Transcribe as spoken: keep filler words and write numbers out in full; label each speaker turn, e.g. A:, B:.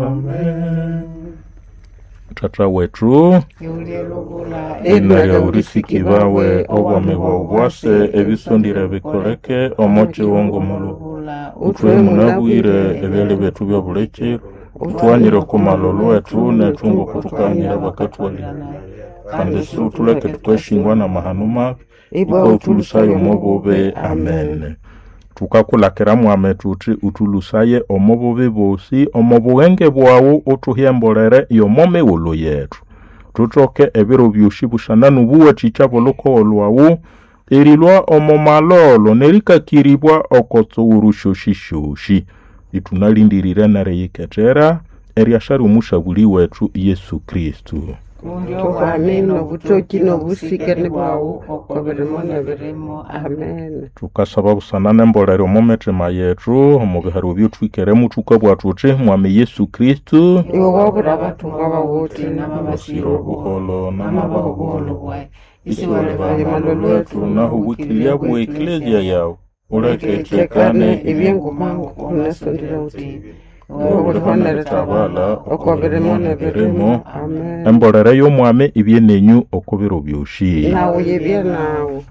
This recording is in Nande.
A: Amen. Tata wetu ina lya ulisiki bawe obwami bwawu bwase ebisondire bikoleke omo kiwongo mulu utwe munabwire ebyalya byethu bya bulikiro utwanyire okumala olwethu nethu ngokutukanyira bakatwalira kandi si utuleke tukashingwa na mahano mabi
B: Ibwa
A: ikwa utulusaye omo bubi amen tukakulakira mwame tuthi utulusaye omo bubi bosi omo bughenge bwawu uthuhyembolere yomo mighulhu yethu tuthoke ebiro byosi busana n'obuwathikya bw'olhukogo lwawu erilwa omo malolo nerikakiribwa oko tsughuru syosisyosi ithunalhindirire neriyikethera eryasara omusabuli wethu Yesu Kristu
C: Kundi
B: Obwami n'obutoki n'obusikene bwawu oko birimo n'ebirimo. Amen.
A: Tukasaba busana n'embolero omo mithima yethu omu biharo ebyothwikeremu thukabugha thuthi mwami Yesu Kristu
B: Iwe wabura abathungwa bawu uthi
A: basira obuholo n'amabaho
C: obuholo bwayi
A: isiwalibamalo lwethu naho obwikilya bwa eklezia yawu uleke
B: Tekane
A: ithekane
B: ebyengumangu unasondera uthi
A: Iwe
B: uliho neritabala oko birimo n'ebirimo. Amen.
A: Embolero y'omwami ibye nenyu oko biro byosi
B: Nawu yibye nawu.